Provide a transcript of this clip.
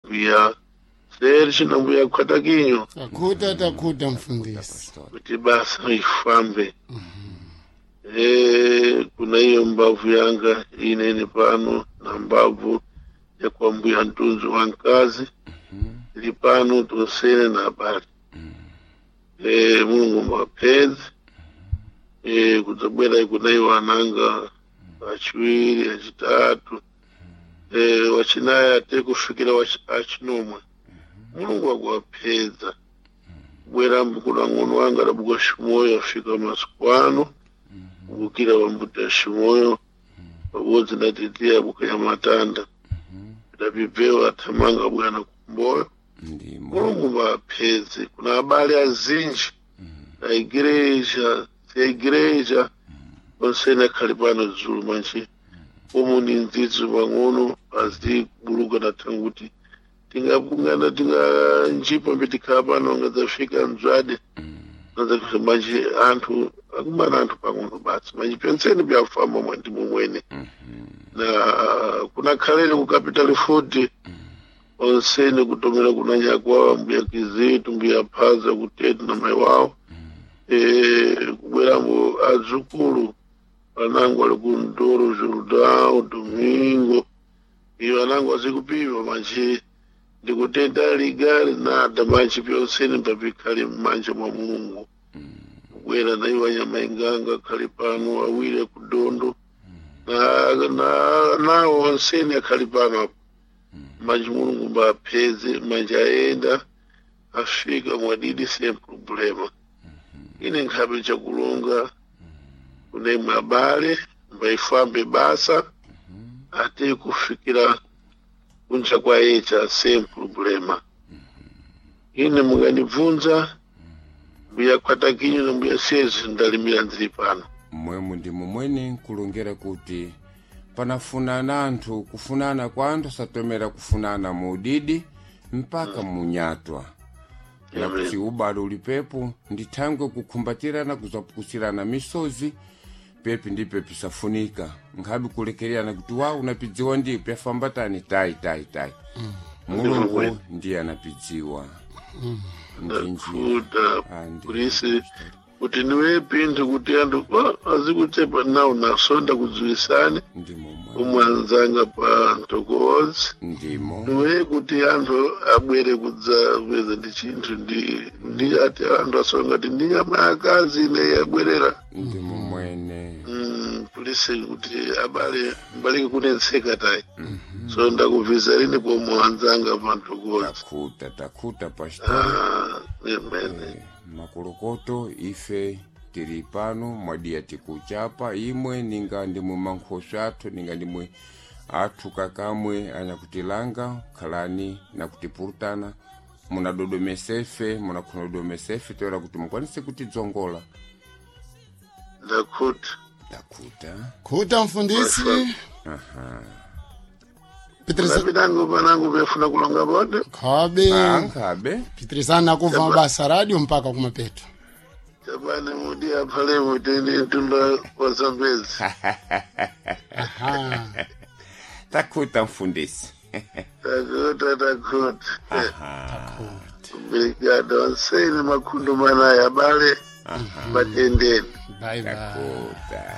Mbuya Serge na mbuya Kwatakinyo Takuta takuta mfundisi. Kuti basa ifambe. Kuna hiyo mbavu yanga inene pano na mbavu ya kwa mbuya Ntunzu wa nkazi ili pano tonsene na habari. Mulungu mwapenzi kudzabwera kunaiwo ananga achiwiri achitatu wachinayi ate kufikira achinomwe. Mulungu akuwapedza bwera mbukula ng'ono wanga adabuka Shimoyo afika masiku ano kubukira wambuta Shimoyo pabodzi na tete abuka ya matanda idapipewa athamanga bwana kumboyo. Ndimo. Mulungu vapedze kuna abale azinji na igreja ya igreja onsene akhali pano dzulu manje umu ni ndzidzi pang'ono azibuluka nathanguti tingabungana tinganjipa mbe tikhala pano ngadzafika mdzwade ngadzafika manje anthu akumana anthu pang'ono basi manje penseni byafamba mwandimo mwene na kunakhaleni ku Capital Food onsene kutomera kuna nyakwawa mbuya Kizitu mbuya Phaza kutetu na mai wawo kubwerambo adzukulu anangu ali ku Ndoro Jordão Domingo iyo anangu azikupiwa manje ndikutenda ligari nada manje pyonsene papikhale mmanja mwa Mulungu kubwera na iwo anyamainganga akhali pano awiri akudondo nawo onsene akhali pano apo manje Mulungu mbapeze manje aenda afika mwadidi sem problema ine nkhabe chakulonga kune abale mbaifambe basa ate kufikira kunja kwa echa sem problema ine munganibvunza mbuya Kwatakinyo na mbuya Sezi ndalimira ndiri pano. Mmwemu ndi momwene nkulongera kuti panafunana anthu kufunana kwa anthu asatomera kufunana mu udidi mpaka munyatwa na kuti ubale ulipepo ndithangwe kukhumbatirana kuzapukusirana misozi pepi ndi pepi safunika nkhabe kulekererana kuti wa unapidziwa ndi pyafambatani tayi tayi tayi. Mulungu ndiye anapidziwa ndinjira Ndakuda Andi. Purisi kuti niwe pinthu kuti anthu azikuchepa nawo nasonda kudziwisane Ndimo mwe. umwe anzanga pa ntokozi Ndimo. niwe kuti anthu abwere kudzapeza ndi chinthu ndi ati anthu asonga kuti ndi nyama yakazi ine yabwerera. Ndimo mwene. Pulisi kuti abale mbalike kunetseka tayi so ndakubvisa rini pomwe anzanga pa ntokozi. Takhuta takhuta pastor. Ah, amen. Makolokoto ife tili pano mwadiya tikuchapa imwe ninga ndimwe mankhoso athu ninga ndimwe athu kakamwe anyakutilanga khalani nakutipurutana munadodomesefe munakhunadodomesefe toera kuti mukwanise kutidzongola. Ndakhuta. Takhuta. Khuta mfundisi. Petrisa Napinango panango pefuna kulonga bonde. khabe Ankhabe. Pitrisana kuva basa radio mpaka kumapeto. Chabane mudi aphalemo tende mtunda wa Zambezi. Aha. Takhuta mfundisi. Takhuta takhuta. Obrigado. Ansene makhundu manaya abale batendeni. Bye bye. Takhuta.